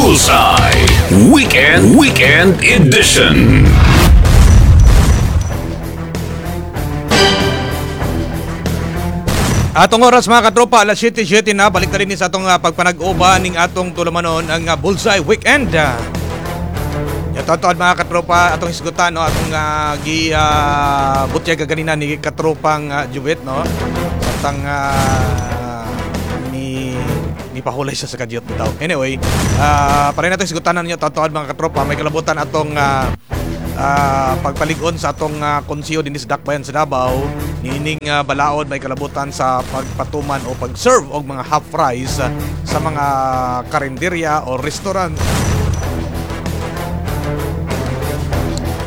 Bullseye Weekend Weekend Edition. Atong oras, mga katropa, alas 7:07 na, balik na rin sa atong pagpanag-uban ning atong tulamanon, ang Bullseye Weekend. Ya totoo, mga katropa, atong hisgutan, no, atong gi butyag ganina ni katropang Jubet, no. Samtang ni ni pahulay siya sa kadyot bitaw. Anyway, pare nato hisgutan ninyo totoo, mga katropa, may kalabutan atong pagpalig-on sa atong konseyo dinhi sa Dakbayan sa Davao niining balaod may kalabutan sa pagpatuman o pag-serve og mga half rice sa mga karinderya o restaurant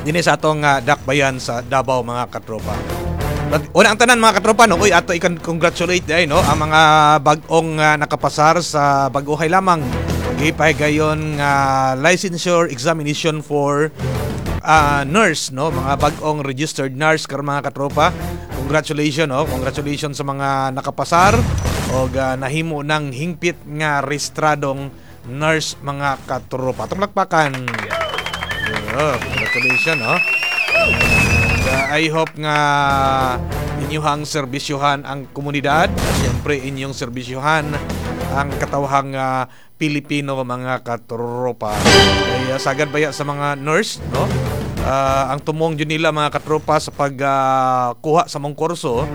dinhi sa atong Dakbayan sa Davao, mga katropa. But, una ang tanan, mga katropa, no, uy, ato ikan congratulate ay, no, ang mga bag-ong nakapasar sa bag-ohay lamang gipahigayon nga licensure examination for nurse, no, mga bag-ong registered nurse karon, mga katropa. Congratulations, no, congratulations sa mga nakapasar og nahimo ng hingpit nga rehistradong nurse, mga katropa. Atong lakpakan. Yeah, congratulations, no. And, I hope nga inyuhang serbisyuhan ang komunidad, siyempre inyong serbisyuhan ang katawhang Pilipino, mga katropa. Kaya sagad baya sa mga nurse, no? Ang tumong jud nila, mga katropa, sa pagkuha sa mong kurso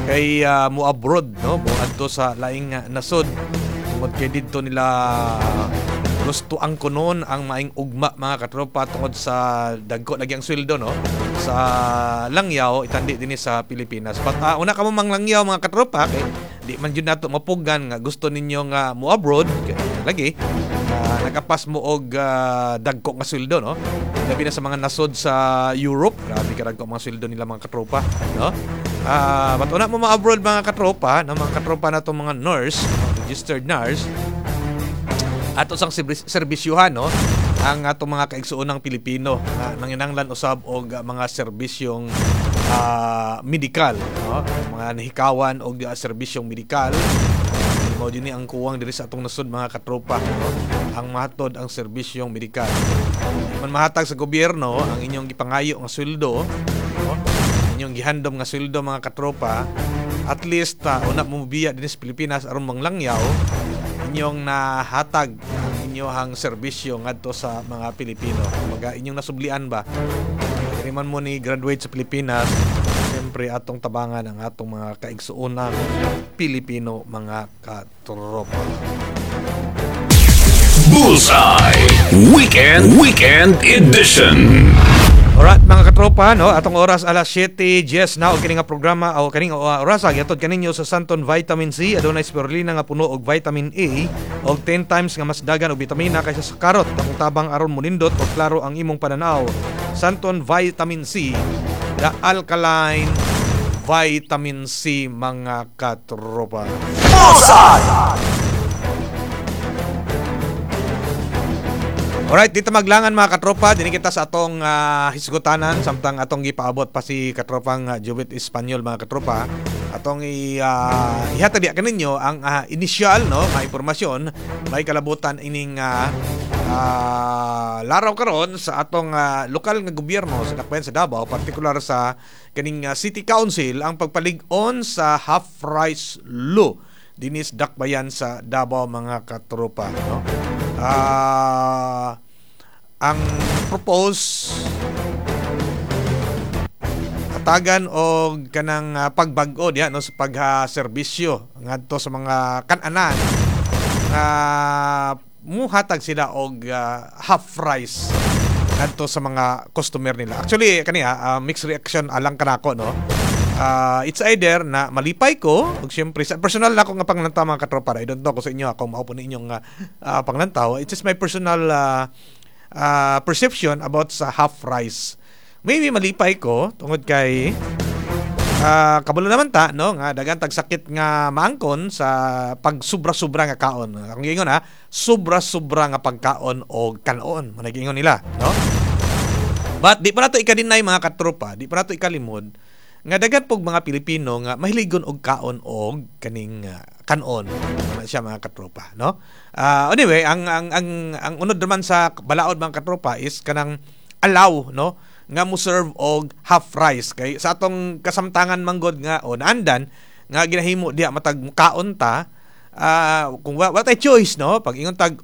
kay mo abroad, no, mo adto sa laing nasod tungod kay didto nila gusto ang kunon ang maing ugma, mga katropa, tungod sa dagko lagi ang sweldo, no, sa langyaw itandi dinhi sa Pilipinas. But una kamo manglangyaw, mga katropa, kay di man jud nato mapugan nga gusto ninyo nga mo abroad kay, lagi nakapas mo og dagko nga sweldo, no, labi na sa mga nasod sa Europe. Grabe ka dagko mga sweldo nila, mga katropa, no. But una mo ma-abroad, mga katropa, no, mga katropa na mga nurse, registered nurse, ato sang serbisyuhan, no, ang atong mga kaigsuonang Pilipino nga nanginanglan usab og mga serbisyong medikal, no, mga nahikawan og serbisyong medikal. Mao ni ang kuwang diri sa atong nasod, mga katropa, no? Ang matod ang serbisyong medikal. Di man mahatag sa gobyerno ang inyong gipangayo nga sweldo, no, inyong gihandom nga sweldo, mga katropa, at least una mo mobiya dinhi sa Pilipinas aron manglangyaw, inyong nahatag ang inyong serbisyo ngadto sa mga Pilipino. Kumbaga inyong nasublian ba? Diri man mo ni graduate sa Pilipinas, siyempre atong tabangan ang atong mga kaigsuonang Pilipino, mga katropa. Bullseye Weekend Weekend Edition. Alright, mga katropa, no, atong oras alas 7:10 na og kini nga programa o kini nga oras gihatod kaninyo sa Santon Vitamin C. Adunay spirulina nga puno og vitamin A og 10 times nga mas dagan og bitamina kaysa sa karot. Akong tabang aron monindot og klaro ang imong pananaw. Santon Vitamin C, the alkaline vitamin C, mga katropa. Bullseye! Alright, dito maglangan, mga katropa, dinhi kita sa atong hisgutanan samtang atong gipaabot pa si katropang Jubit Espanyol, mga katropa. Atong ihatag diya kaninyo ang initial, no, nga impormasyon may kalabutan ining laraw karon sa atong lokal nga gobyerno sa Dakbayan sa Davao, partikular sa kaning City Council, ang pagpalig-on sa half rice law dinhi sa Dakbayan sa Davao, mga katropa, no. Ang propose hatagan og kanang pagbag-o diha, no, sa pagserbisyo ngadto sa mga kan-anan nga muhatag sila og half rice ngadto sa mga customer nila. Actually kaniya mixed reaction alang kanako, no. It's either na malipay ko ug siyempre sa personal na ako nga panglantaw, mga katropa. I don't know kung sa inyo ako mao po ninyong panglantaw. It's just my personal perception about sa half rice. Maybe malipay ko tungod kay kabalo naman ta, no, nga daghan tag sakit nga maangkon sa pagsubra-sobra nga kaon. Ang giingon ha, sobra-sobra nga pagkaon o kanon, man giingon nila, no? But di pa nato ika-deny, mga katropa, di pa nato ikalimod Nga daghan pog mga Pilipino nga mahiligon og kaon og kaning kanon na siya, mga katropa, no? Anyway, ang unod naman sa balaod, mga katropa, is kanang allow, no, nga mo serve og half rice, kay sa atong kasamtangan manggod nga o naandan nga ginahimo diha matag kaon ta, kung wa tay choice, no, pag ingon tag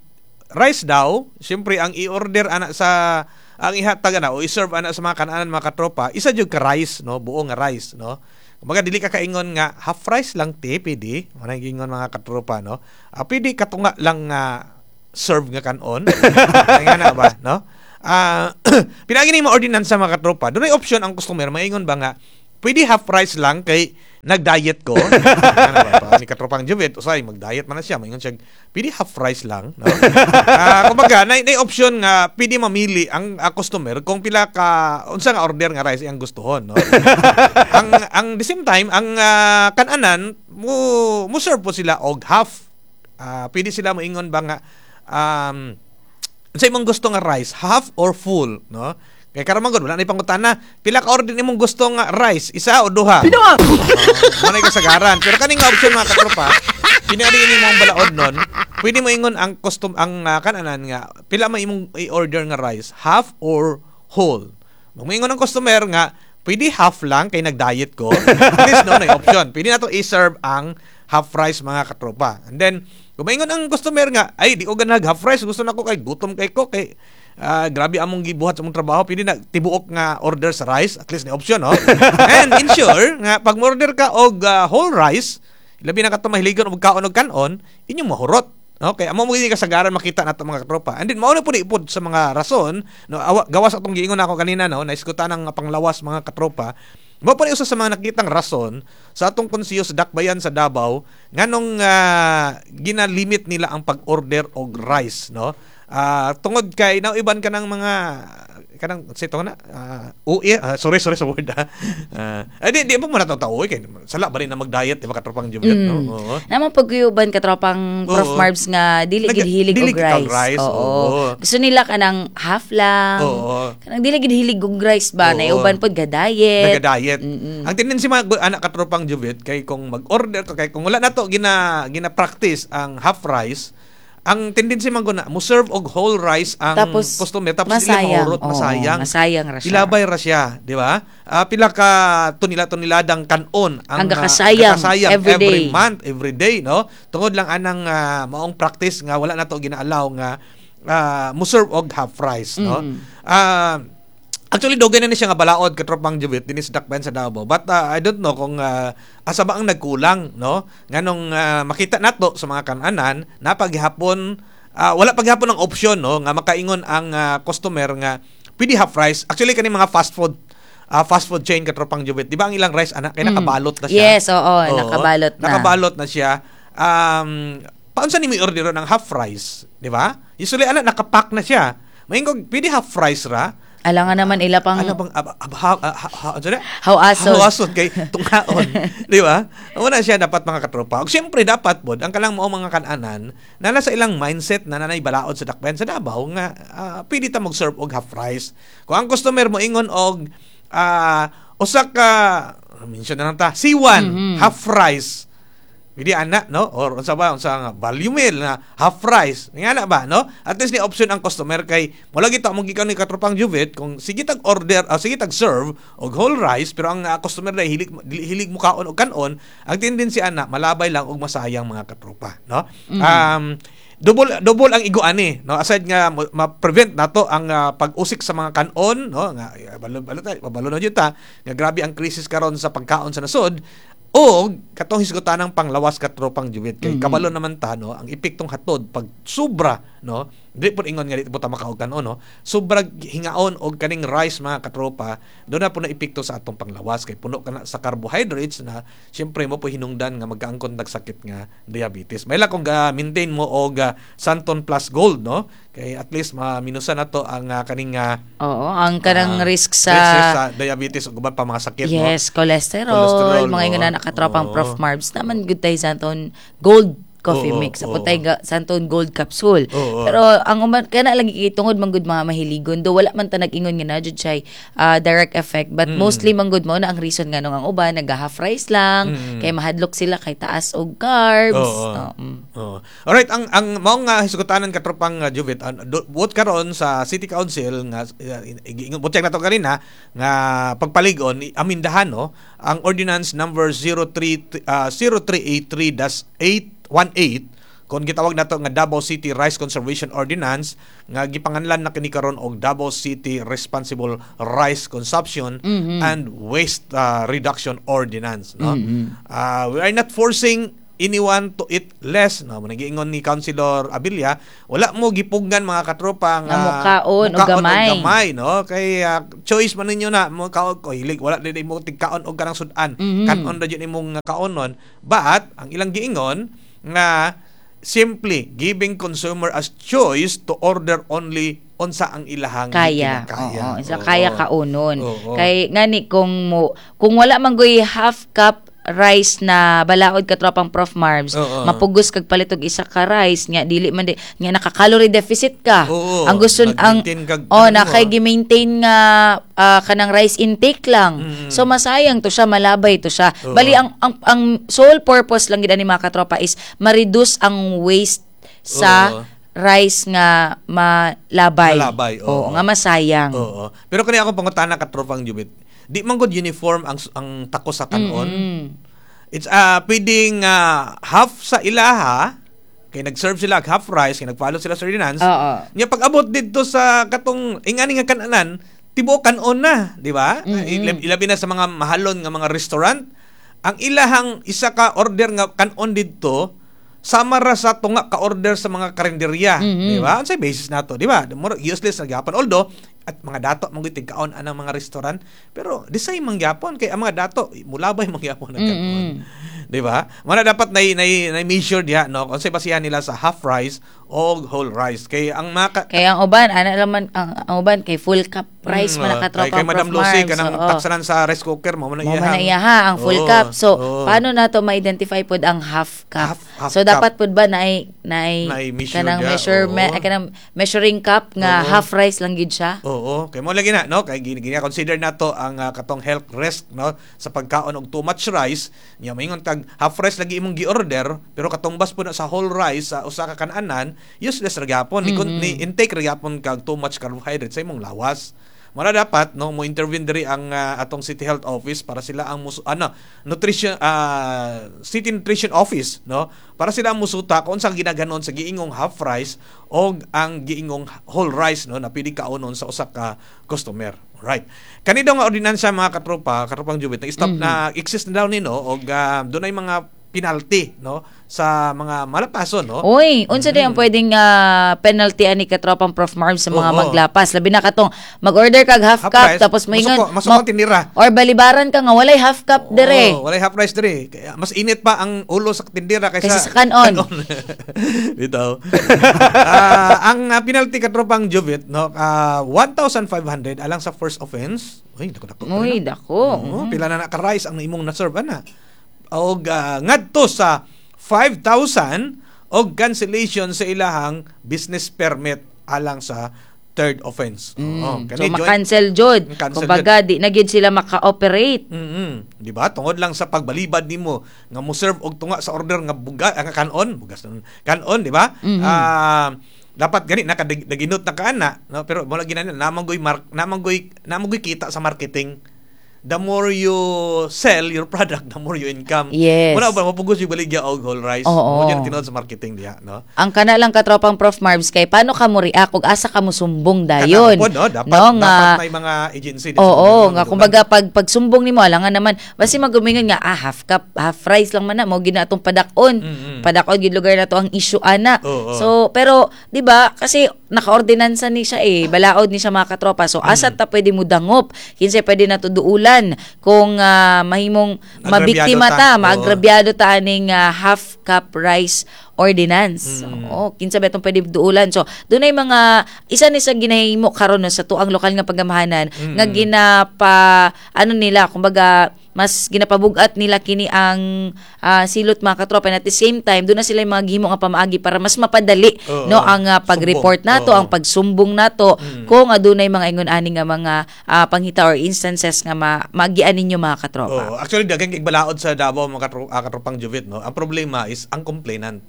rice daw, siyempre ang i-order ana sa ang ihatag ana o i-serve ana sa mga kananan, mga katropa, isa jud ka rice, no, buo nga rice, no. Kumbaga dili ka kaingon nga half rice lang te, pwede mo ingon, mga katropa, no. Pwede katunga lang nga serve nga kanon nga na ba, no? Pinagi ni mo ordinansa, mga katropa, dunay option ang customer maingon ba nga pwede half rice lang kay nag-diet ko. Ano ba, pa, ni katropang Juvet, usay mag-diet man na siya, maingon siya, pwede half rice lang, no? Kumbaga, na option nga pwede mamili ang customer kung pila ka unsa nga order nga rice iyang gustuhon, no? Ang the same time, ang kananan mo mo serve po sila og half. Pwede sila moingon ba nga sa imong gusto nga rice, half or full, no? Kay karon man gud wala na pangutana, pila ka order imong gusto nga rice, isa o duha? Pila. Mo na kasagaran. Pero kaning nga option, mga katropa, pinari ni mo ang balaod nun, pwede mo ingon ang custom ang kananan nga pila man imong i-order nga rice, half or whole. Moingon ang customer nga pwede half lang kay nag-diet ko. At least, no, na option. Pwede na to i-serve ang half rice, mga katropa. And then kung maingon ang customer nga, ay, di ko ganag half rice, gusto na ko kay gutom kay ko kay grabe among gibuhat sa among trabaho, pwede na tibuok nga order sa rice, at least na option, no? And ensure nga pag order ka og whole rice, labi na kato mahiligon og kaon og kanon, inyong mahurot. Okay, amo mo gini kasagaran makita nato, mga katropa. And then mao na pud ipod sa mga rason, no, awa, gawas atong giingon ako kanina, no, naiskutan ang panglawas, mga katropa. Mao pa ni usa sa mga nakitang rason sa atong konseyo sa Dakbayan sa Davao nganong gina-limit nila ang pag-order og rice, no? Tungod kay nauiban ka ng mga kanang sa ito na ui, sorry, sorry sa word ha. Ay di mo man nato uwi kay sala ba rin na mag-diet, di ba, katropang Juliet, no? Oo. Naman pagyuban katropang Prof Marbs nga dili gid hilig dili og gid kag rice. Rice, oo. Gusto nila kanang half lang. Kanang dili gid hilig og rice ba, na uban pod ga diet. Naga-diet. Ang tendency, mga anak katropang Juvet, kay kung mag-order ka, kay kung wala na to gina gina-practice ang half rice, ang tendency man guna mo serve og whole rice ang Tapos, customer, tapos dili masayang. mahurot, Oo, masayang. Masayang ra siya. Ilabay ra siya, di ba? Pila ka tunila-tuniladang kanon ang gakasayang gakasayang every every day. Month, every day, no? Tungod lang anang maong practice nga wala na to gina-allow nga mo serve og half rice, no? Actually, dugay na ni siya nga balaod, katropang Jubit, dinhi sa Dakbayan sa Davao. But I don't know kung asa ba ang nagkulang, no? Nganong makita nato sa mga kananan, napaghapon wala paghapon ang option, no, nga makaingon ang customer nga pwede half rice. Actually, kani mga fast food chain, katropang Jubit, di ba ang ilang rice anak kay nakabalot na siya? Yes, oo, nakabalot na. Nakabalot na siya. Paunsa ni mo i-order ng half rice, di ba? Usually ana nakapack na siya. Maingog pwede half rice ra. Alangan naman ila pang Ano bang ab, ab, ha, ha, ha, ano na? Hawason. Hawason kay tungaon, di ba? Una siya dapat, mga katropa. Ug siyempre dapat pod ang kalang mao mga kananan na nasa ilang mindset na nanay balaod sa Dakbayan sa Davao nga pwede ta mag-serve og half rice. Kung ang customer mo ingon og usa ka, mention na lang ta, C1 half rice. Pwede ana, no? Or unsa ba, unsa nga value meal na half rice. Nga na ba, no? At least ni option ang customer kay wala gita mo gikan ni katropang Juvet kung sige tag order, sige tag serve og whole rice, pero ang customer na hilig hilig mo kaon og kanon, ang tendency ana malabay lang og masayang, mga katropa, no? Double double ang igo ani, no, aside nga ma-prevent nato ang pag-usik sa mga kanon, no, nga balo balo ta, balo na jud ta nga grabe ang crisis karon sa pagkaon sa nasod o katong hisgutanang panglawas, katropang Juwit, kay kabalo naman ta, no, ang epektong hatod pag sobra, no, di po ingon nga di po ta makaog kanon, no, sobra hingaon og kaning rice, mga katropa, do na po na epekto sa atong panglawas kay puno ka na sa carbohydrates na siyempre mo po hinungdan nga magkaangkon nagsakit nga diabetes. May kung ga maintain mo og Santon Plus Gold, no, kay at least maminusan na to ang kaning Oo, ang kanang risk sa risk sa diabetes ug uban pa mga sakit, no. Yes, cholesterol, Cholesterol, mga ingon oo. na katropang Prof Marbs naman good tayo Santon Gold. coffee mix. Sa putay Santon Gold capsule. Pero ang uban kana lagi kay tungod man gud mga mahiligon, do wala man ta nag-ingon nga na jud siya direct effect, but mostly man gud mo na ang reason nga ang uban naga half rice lang kay mahadlok sila kay taas og carbs. Oo. Oo. Alright, ang mao nga hisgutanan, katropang Juvit, buot karon sa City Council nga giingon butyag nato kanina nga pagpalig-on amindahan, no, ang ordinance number 03 0383-818 kon gitawag nato nga Davao City Rice Conservation Ordinance nga gipanganlan na kini karon og Davao City Responsible Rice Consumption and Waste Reduction Ordinance, no. We are not forcing anyone to eat less, no, mo giingon ni Councilor Abilla. Wala mo gipugnan, mga katropa, nga nga mukaon og mukaon gamay. Gamay, no, kay choice man ninyo na mo kaon ko hilig, wala din mo tigkaon og kanang sudan, kanon ra jud imong kaonon. But ang ilang giingon nga simply giving consumer as choice to order only unsa ang ilahang kaya. kinakaya. Oo, sa kaya kaunon. Kay ngani kung wala man goy half cup rice na balaod, katropang Prof Marbs, mapugos kag palit og isa ka rice nga dili man di, nga naka-calorie deficit ka. Ang gusto ang Nag-maintain kag- oh ano na mo, kay gi-maintain nga kanang rice intake lang. So masayang to siya, malabay to siya. Bali ang sole purpose lang gid ani, mga katropa, is ma-reduce ang waste sa rice nga malabay. Malabay, oo. Oo, nga masayang. Oo. Pero kani akong pangutana, katropang Jubit. Di man gud uniform ang tako sa kanon. It's pwedeng half sa ilaha kay nag-serve sila og half rice kay nag-follow sila sa ordinance. Nya pag abot didto sa katong ingani nga kananan, tibuok kanon na, di ba? Ilabi na sa mga mahalon nga mga restaurant, ang ilahang isa ka order nga kanon didto sama ra sa tunga ka order sa mga karinderya, di ba? Unsay basis nato, di ba? More useless na gyapon. Although at mga dato man gyud tigkaon anang mga restaurant, pero di say man gyapon kay ang mga dato mulabay man gyapon ang kaon. Di ba? Muna dapat nay measure diha, no, unsay basihan nila sa half rice o whole rice kay ang mga Kaya ang uban, ana naman ang uban kay full cup rice man nakatropa. Kay Madam Prof. Lucy Marbs. kanang taksanan sa rice cooker mo man Mo man na iya ha, ang full cup. So, paano nato ma-identify pod ang half cup? Half So, cup. Dapat pod ba naay Naay measure kanang diya, measure kanang measuring cup nga half rice lang gid siya? Oo, kay mo lagi na, no, kay gini, gini consider nato ang katong health risk, no, sa pagkaon og too much rice. Nya maingon kag half rice lagi imong gi-order pero katumbas po na sa whole rice sa usa ka kananan, useless ra gyapon ni intake ra gyapon kag too much carbohydrate sa imong lawas. Mara dapat, no, mo intervene diri ang atong City Health Office para sila ang ano, nutrition City Nutrition Office, no, para sila ang musuta kung unsang ginaganon sa giingong half rice o ang giingong whole rice, no, na pwede kaonon sa usa ka customer. Right. Kani daw nga ordinansa, mga katropa, katropang Jubit, na stop na exist na daw ni, no, og dunay mga penalty, no, sa mga malapaso, no. Uy, unsa day ang pwedeng penalty ani, katropang Prof Marv, sa mga maglapas? Labi na katong mag-order kag half Half cup rice, tapos moingon masuko, masuko ang tindera. or balibaran ka nga walay half cup dire. Oo, walay half rice dire. Kaya mas init pa ang ulo sa tindera kaysa kaysa sa kanon. Bitaw. Ang penalty, katropang Juvit, no, 1,500 alang sa first offense. Uy, dako dako. Uy, dako. Oo, pila na ka rice ang imong na-serve ana. Og ngadto sa 5,000 og cancellation sa ilahang business permit alang sa third offense. Oo, So kani ma-cancel jud. Cancel. Kumbaga di na gyud sila maka-operate. Di ba? Tungod lang sa pagbalibad nimo nga mo serve og tunga sa order nga buga nga kanon, bugas nun. Kanon, di ba? Dapat gani nakaginot na kaana, no? Pero mo lagi na namang goy kita sa marketing. The more you sell your product, the more you income. Wala ba mapugos yung baligya og whole rice? Oo. Mo dyan tinuod sa marketing diha, no? Ang kana lang, katropang Prof Marbs, kay paano ka mo react ug asa ka mo sumbong dayon? Kana po, no? Dapat, No, nga, dapat may mga agency din sa Oo, gobyerno nga nga kumbaga pag pagsumbong nimo, alangan naman basi magumingon nga half cup, half rice lang man na mo gina atong padak-on. Padak-on gid lugar na to ang issue ana. So pero di ba kasi nakaordinansa ni siya eh, balaod ni siya, mga katropa. So asa ta pwede mo dangop? Kinsay pwede na duulan kung mahimong mabiktima agrabyado ta, ta. Oo. Maagrabyado ta aning half cup rice ordinance. Oo, kinsa ba itong pwede duulan? So, dunay mga isa ni sa ginahimo karon, no, sa tuang lokal nga pagamahanan nga ginapa ano nila, kumbaga Mas ginapabugat nila kini ang silot, mga katropa, and at the same time doon na sila yung mga gihimo nga pamaagi para mas mapadali no ang pag-report Sumbong. nato, ang pagsumbong nato kung adunay mga ingon ani nga mga panghita or instances nga maagian ninyo, mga katropa. Oo. Actually, daghang kay balaod sa Davao, mga katropang Juvit, no? Ang problema is ang complainant.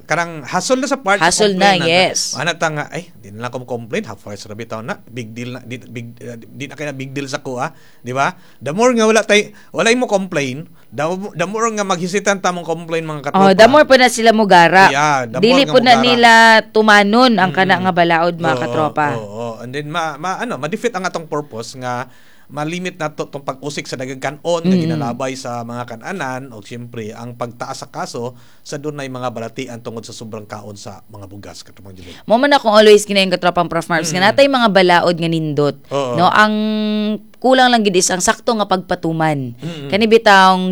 Kanang hasol na sa part sa Hasol na, complainant. Yes. Ana ta nga, ay, di na lang ko complain, half price ra bitaw na, big deal na, di na kaya big deal sa kuha, di ba? The more nga wala tay, wala mo complain, the more nga maghesitant ta mong complain, mga katropa. Oh, the more po na sila mugara. Yeah, the more Dili nga po na mugara. nila tumanon ang kana nga balaod, mga katropa. Oo. And then ma, ma ano, ma-defeat ang atong purpose nga malimit na to tong pag-usik sa daghang kanon nga ginalabay sa mga kananan o siyempre ang pagtaas sa kaso sa dunay mga balatian tungod sa sobrang kaon sa mga bugas, katropang Juliet. Mo man akong always ginayon, katropang Prof Marks, nga natay mga balaod nga nindot. No, ang kulang lang gid is ang sakto nga pagpatuman. Kani bitawng